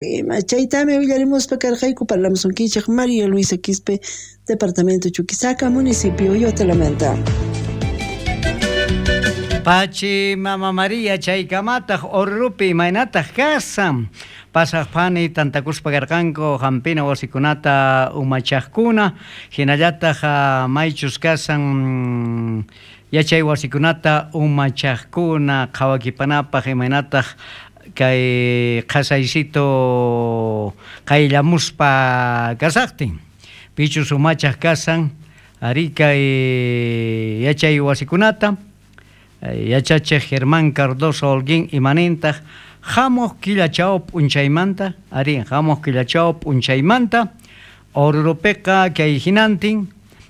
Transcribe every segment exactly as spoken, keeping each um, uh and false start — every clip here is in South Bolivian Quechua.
Ima chaytami willarimuspa karqayku parlamusunkichik María Luisa Quispe, Departamento Chuquisaca, municipio Yotelamanta. Pachi Mama María chaykamataq Orurupi imaynataq kasan pasaq phani tantakuspa karqanku hampina wasikunata umachaqkuna hinallataq maychus kasan yachay wasikunata umachaqkuna qhawakipanapaq imaynataq kay qhasaysito qayllamuspa kasaqtin pichus umachaq kasan ari kay yachay wasikunata yachachiq Germán Cardoso Holguín imanintaq hamuq killachaw p'unchaymanta ari hamuq killachaw p'unchaymanta Orurupiqa kay hinantin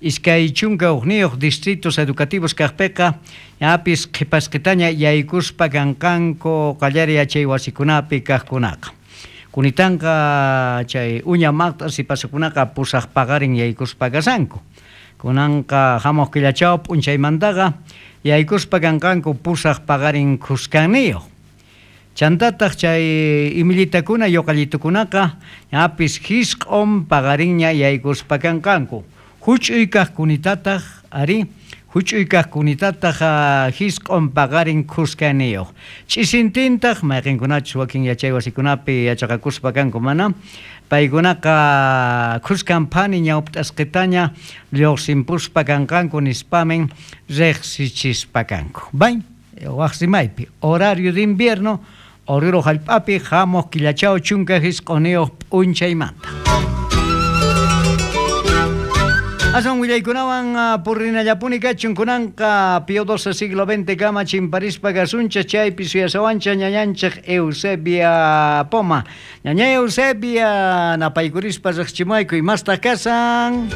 iskay chunka hukniyuq distritos educativos kaqpiqa ñapis qhipasqitaña yaykuspa kanqanku qallari yachay wasikunapi kaqkunaqa kunitanqa chay uña maqt'a sipaskunaqa pusaq paqarin yaykuspa kasanku kunanqa hamuq killachaw p'unchaymantaqa yaykuspa kanqanku pusaq paqarin khuskanniyuq chantataq chay imillitakuna yuqallitukunaqa ñapis hisq'un paqarinña yaykuspa kanqanku huch'uy kaqkunitataq ari huch'uy kaqkunitataq hisq'un paqarin khuskanniyuq ch'isintintaq mayqinkunachus wakin yachay wasikunapi yachaqakuspa kanku mana paykunaqa khuskan phani ñawpt'asqitaña lluqsinpuspa kanqanku nispamin riqsichispa kanku bay waq rimaypi horario de invierno Oruro hallp'api hamuq killachaw chunka hisq'uniyuq p'unchaymanta. Asan willaykunawan purrinallapuni kachun kunanqa Pío doce siglo veinte kama chimparispa kasunchik chaypi suyasawancha ñañanchik Eusebia Poma. Ñaña Eusebia napaykurispa riqchimayku imastaq kasan.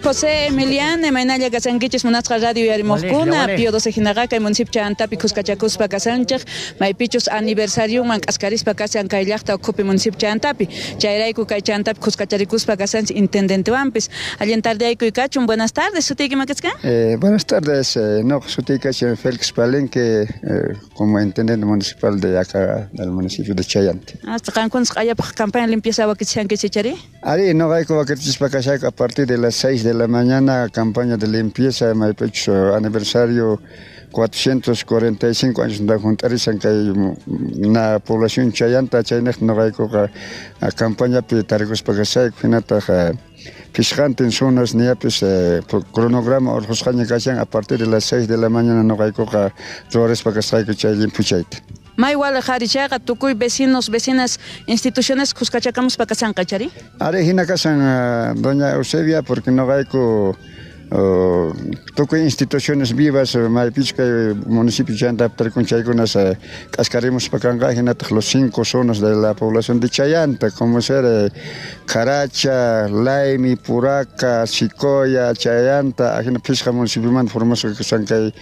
José Emiliano imaynalla kasankichis munasqa radio yarimuqkuna Pío doce hinaqa kay municipio Chayantapi khuskachakuspa kasanchik maypichus aniversarioman k'askarispa kasan kay llaqta ukhupi municipio Chayantapi chayrayku kay Chayantapi khuskacharikuspa kasanchik intendentewanpis allin tarde. Buenas tardes, sutiyki makasqa? Eh, buenas tardes, eh, no, sutiyki Félix Palenque, eh, como intendente municipal de acá, del municipio de Chayanta. Hasta qankunas q'ayapaq campaña limpieza wakichishankichik chari? Ari, no hay wakichispa kashayku a partir de las seis de la mañana, campaña de limpieza, maypichus aniversario cuatrocientos cuarenta y cinco años de juntarizan kay na población Chayanta, chaynaq noqaykuqa campaña pi tarikuspa kashayku hinataq pisqantin zonas niapis eh, cronograma urqusqaña kashan a partir de las seis de la mañana noqaykuqa ruwarispa kasqayku chay limpuchayta. May waliq ari chayqa tukuy vecinos, vecinas, instituciones khuskachakamuspa kasanqa chari? Ari hina kasan doña Eusebia porque noqayku Uh, tukuy instituciones vivas maypichus kay municipio Chayanta tarikun chaykunas k'askarimuspa kanqa hinataq los cinco zonas de la población de Chayanta como ser eh, Caracha, Laimi, Puraca, Sicoya, Chayanta ajina phisqa municipiomanta formasqa kasan kay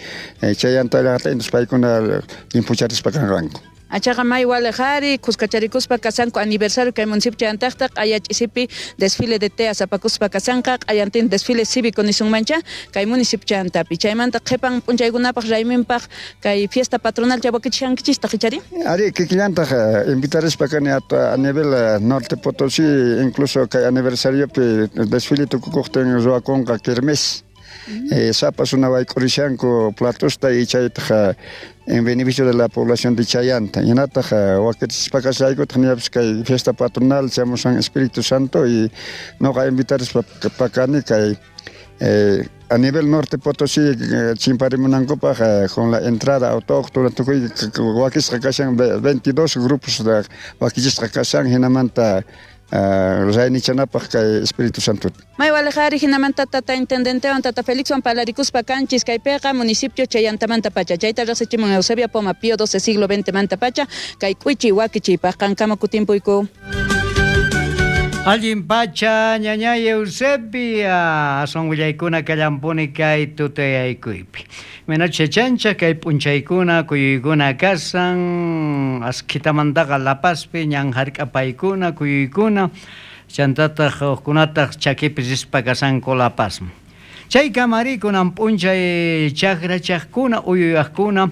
eh, Chayanta llaqta entonces paykuna limpucharispa kanqanku. Achaqa may waliq ari khuskacharikuspa kasanku aniversario kay municipio Chayantaqta q'aya ch'isipi desfile de teas apakuspa kasanqa q'ayantin desfile cívico nisunmancha kay municipio Chayantapi chaymanta qhipan p'unchaykunapaq rayminpaq kay fiesta patronal chawakichishankichistaq ichari? Ari kikillantaq invitarispa kani a, a nivel norte Potosí incluso kay aniversariopi desfile tukukuqtin ruwakunqa kermés. Eh, sapas una wayk'urishanku platosta y chaytaq en beneficio de la población de Chayanta. Hinataq wakichispa kashaykutaq niyapis kay fiesta patronal chamusan Espíritu Santo y noqa invitarispa pakani kay eh, a nivel norte Potosí chimparimunankupaq eh, con la entrada autóctona tukuy wakisqa kashan veintidós grupos wakichisqa kashan hinamanta Uh, raynichanapaq kay Espíritu Santo. May waliq ari hinamanta tata intendentewan tata Felixwan palarikuspa kanchis kaypiqa municipio Chayantamanta pacha chayta riqsichimun Eusebia Poma Pío doce siglo veinte manta pacha kay k'uichi wakichiypaq qankama kutimpuyku. Allin pacha ñañay Eusebia son willaykuna kallampuni kay tutayaykuypi. Menoche chancha kay p'unchaykuna kuyuykuna kasan askhitamantaqa La Pazpi ñan hark'apaykuna kuyuykuna chantataq hukkunataq chakipi rispa kasanku La Pazman. Chay kamarikunan p'unchay chakrachaqkuna uyuyaqkuna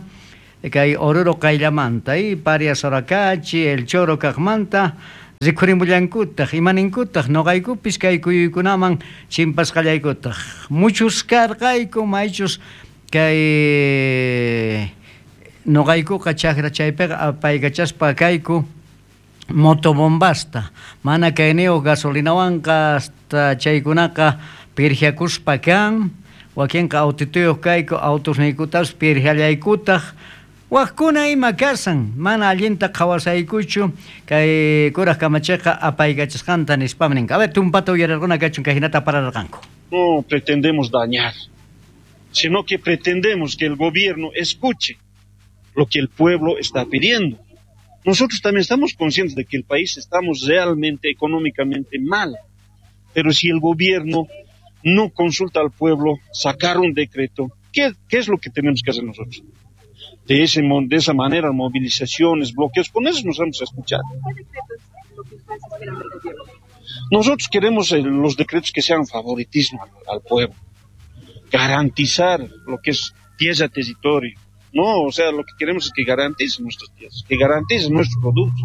kay Oruro qayllamanta y Paria Soracachi, El Choro kaqmanta Rikhurimullankutaq, imaninkutaq, noqaykupis kay kuyuykunaman chimpasqallaykutaq. Muchus karqayku, maychus kay noqaykuqa chakra chaypiqa apaykachaspa kayku motobombasta. Mana kayniyuq gasolinawanqa hasta chaykunaqa pirjiakuspa kan, wakinqa autituyuq kayku, autusniykutapas pirjiallaykutaq. Wajkuna ima kasan, mana allinta qhawasaykuchu kay kuraj kamachiqa apaykachasqanta nispam ninqa. A ver, tumpata uyararquna kachun kay hinata pararqanku. No pretendemos dañar, sino que pretendemos que el gobierno escuche lo que el pueblo está pidiendo. Nosotros también estamos conscientes de que el país estamos realmente económicamente mal, pero si el gobierno no consulta al pueblo, sacar un decreto, ¿qué, qué es lo que tenemos que hacer nosotros? De, ese, de esa manera, movilizaciones, bloqueos, con eso nos vamos a escuchar. ¿Qué decretos es lo que ustedes esperan del gobierno? Nosotros queremos los decretos que sean favoritismo al, al pueblo, garantizar lo que es tierra, territorio. No, o sea, lo que queremos es que garanticen nuestras tierras, que garanticen nuestros productos.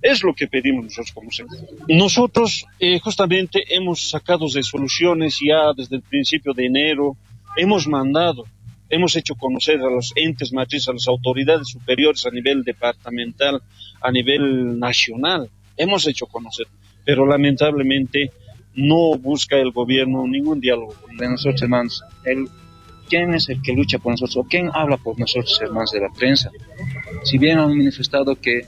Es lo que pedimos nosotros como sector. Nosotros eh, justamente hemos sacado resoluciones ya desde el principio de enero, hemos mandado, hemos hecho conocer a los entes matrices, a las autoridades superiores a nivel departamental, a nivel nacional, hemos hecho conocer, pero lamentablemente no busca el gobierno ningún diálogo con nosotros, hermanos. El, ¿quién es el que lucha por nosotros o quién habla por nosotros, hermanos de la prensa? Si bien han manifestado que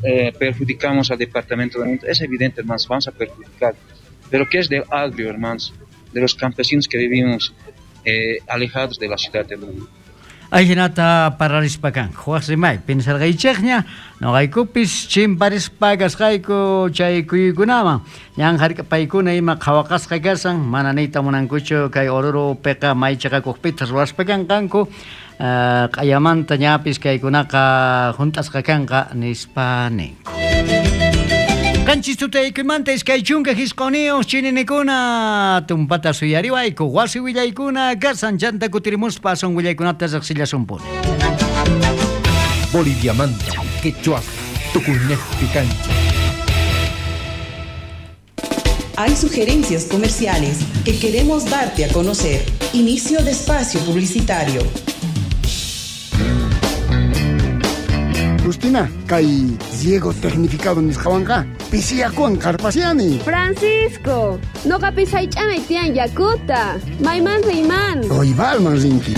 eh, perjudicamos al departamento, es evidente, hermanos, vamos a perjudicar. Pero ¿qué es del agrio, hermanos? De los campesinos que vivimos eh, alejados de la ciudad de Lima. Ajinata pararispa kanku. Waj rimay, pinsarqaychikña, noqaykupis chimparispa kasqayku chay kuyuykunaman. Ñan hark'apaykuna ima qhawaqasqa kasan, mana niyta munankuchu kay Oruropiqa may chiqakuqpita ruwaspa kanqanku. Q'ayamanta ñapis kaykunaqa hunt'asqa kanqa nispa ninku. Qanchis tutaykuymanta iskay chunka hisq'uniyuq chininikuna tumpata suyariwayku wasi willaykuna kasan chanta kutirimuspa asun willaykunata riqsillasumpuni. Boliviamanta, quechua, tukuynejpi kancha. Hay sugerencias comerciales que queremos darte a conocer. Inicio de espacio publicitario. Justina, kay riego tecnificado nisqawanqa pisiyakuwan qarpasiani. Francisco, noqapis haych'anay tiyan yakuta. Mayman riyman. Proibalman rinki.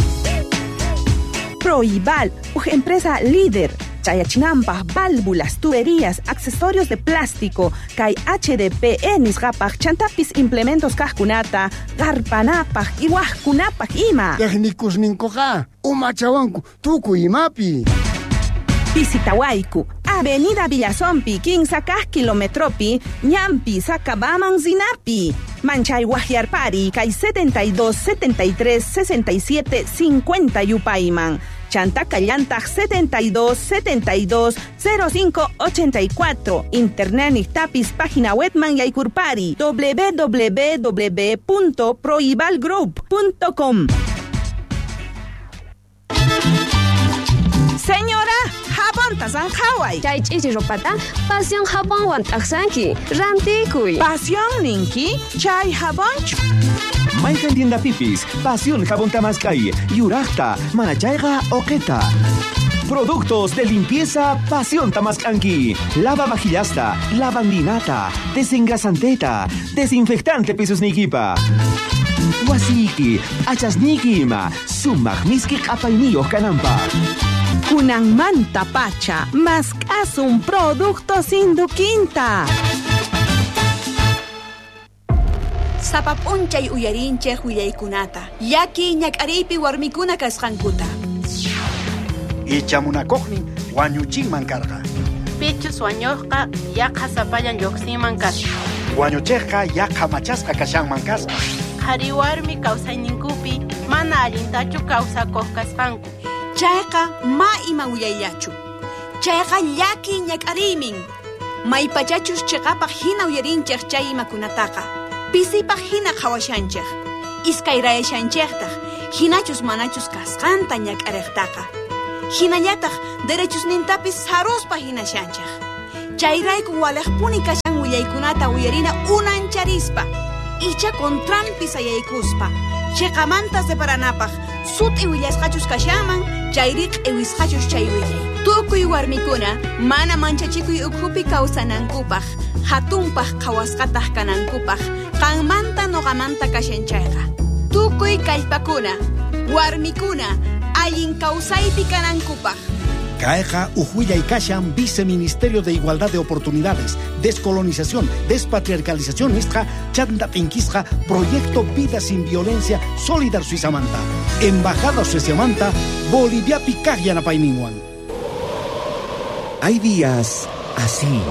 Proibal, uj empresa líder. Chayachinampaj, válvulas, tuberías, accesorios de plástico, kay H D P E nisqapaj, chantapis implementos kajkunata, qarpanapaj, iwajkunapaj ima. Técnicos ninkuqa, umachawanku, tukuy imapi. Visitawayku, Avenida Villazompi, quince kilometropi, Ñampi, Sacabaman, Zinapi. Manchay Guajiarpari, kay setenta y dos, setenta y tres, sesenta y siete, cincuenta Yupayman. Chanta Callantag setenta y dos, setenta y dos, cero cinco, ochenta y cuatro. Internet Nictapis, página webman Yaykurpari, doble u doble u doble u punto proibalgroup punto com. Señora, jabón tasanjaway. Chay ch'ichi ropata, pasión jabonwan t'aqsanki. Rantikuy. Pasión ninki, chay jabonchu. Mayqan tienda pipis, pasión jabón tamaskay, yuraqta, manachayqa oqeta. Productos de limpieza Pasión Tamascanqui. Lava vajillasta, lavandinata, desengrasanteta, desinfectante pisusnikipa. Wasiki, achasniki ima, sumaq miski q'apayniyuq kananpaq. Kunanmanta pacha, mask'asun productos Induquinta. Sapa p'unchay uyarinchej willaykunata, llaki ñak'ariypi warmikuna kasqankuta. Ichamunakuqnin wañuchinman karqa. Pichus wañuqqa yaqa sapallan lluqsinman kasqa. Wañuchiqqa yaqa machasqa kashanman kasqa. Qhari warmi kawsayninkupi mana allintachu kawsakuq kasqanku. Chayqa ma ima willayllachu. Chayqa llaki ñak'ariymin. Maypachachus chiqapaq hina uyarinchej chay imakunataqa. Pisipaq hina qhawashanchej. Iskayrayashanchejtaq hinachus manachus kasqanta ñak'ariqtaqa. Hinallataq derechusnintapis saruspa hinashanchej. Chayrayku waliqpuni kashan willaykunata uyarina unancharispa, icha contranpi sayaykuspa. Chiqamanta separanapaq sut'i willasqachus kashanman, chayri q'iwisqachus chay willay. Tukuy warmikuna mana manchachikuy ukhupi kawsanankupaq, hatunpaq qhawasqataq kanankupaq, qanmanta noqamanta kashan chayqa. Tukuy kallpakuna, warmikuna, allin kawsaypi kanankupaq. Kayqa uj kashan Viceministerio de Igualdad de Oportunidades, Descolonización, Despatriarcalización nisqa chanta t'inkisqa Proyecto Vida Sin Violencia Solidar Suizamanta, Embajada Sueziamanta, Boliviapi kaq yanapayninwan. Hay días así.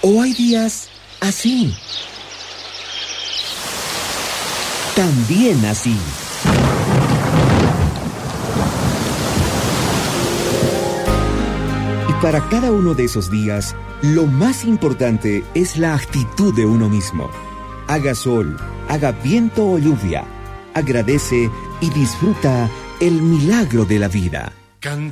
O hay días así. También así. Y para cada uno de esos días, lo más importante es la actitud de uno mismo. Haga sol, haga viento o lluvia. Agradece y disfruta el milagro de la vida. Canta.